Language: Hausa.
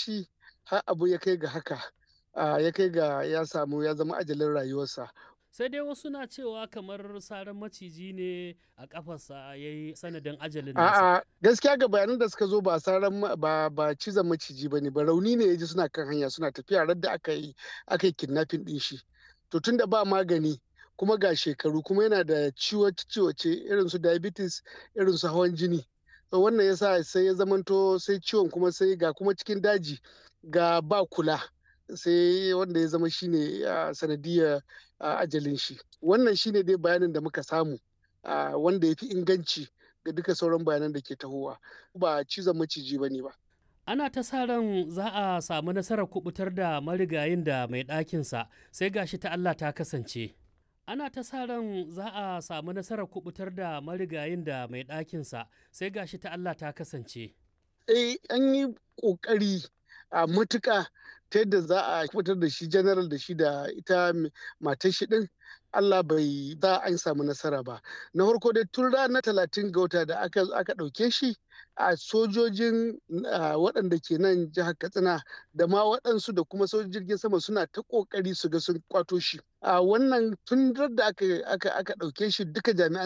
shi har abu ya kai ga haka, ya kai ga ya samu ya zama ajalin rayuwarsa. Sai dai wasu na cewa kamar saran maciji ne a kafarsa ya yi sanadin ajalin nasa. A'a, gaskiya ga bayanan da suka zo ba saran ba cizon maciji bane ba, rauni ne ya ji suna kan hanya suna tafiya radda aka yi kidnapping din shi. To tunda ba magani kuma ga shekaru kuma yana da ciwace irin su diabetes, irin su hawan jini. To wannan yasa sai ya zamanto sai ciwon kuma sai ga kuma cikin daji ga ba kula, sai wanda ya zama shine sanadiyar ajalin shi. Wannan shine dai bayanin da muka samu wanda ya fi inganci ga duka sauran bayanan da ke tahowa, ba cizon maciji ba ne ba. Ana ta sa ran za a samu nasarar kubutar da marigayin da mai ɗakinsa, sai gashi ta Allah ta kasance. Ana ta sa ran za a samu nasarar kubutar da marigayin da mai ɗakinsa, sai gashi ta Allah ta kasance. Eh, an yi ƙoƙari a matuƙa ta yadda za a fitar da shi general da shi da ita matar shi din, Allah bai za an samu nasara ba. Na farko dai tun ranar 30 ga wata da aka ɗauke shi a sojojin waɗanda ke nan jihar Katsina da ma waɗansu da kuma sojojin jirgin sama suna ta ƙoƙari su ga sun kwato shi. A wannan tun da aka ɗauke shi duka jami'an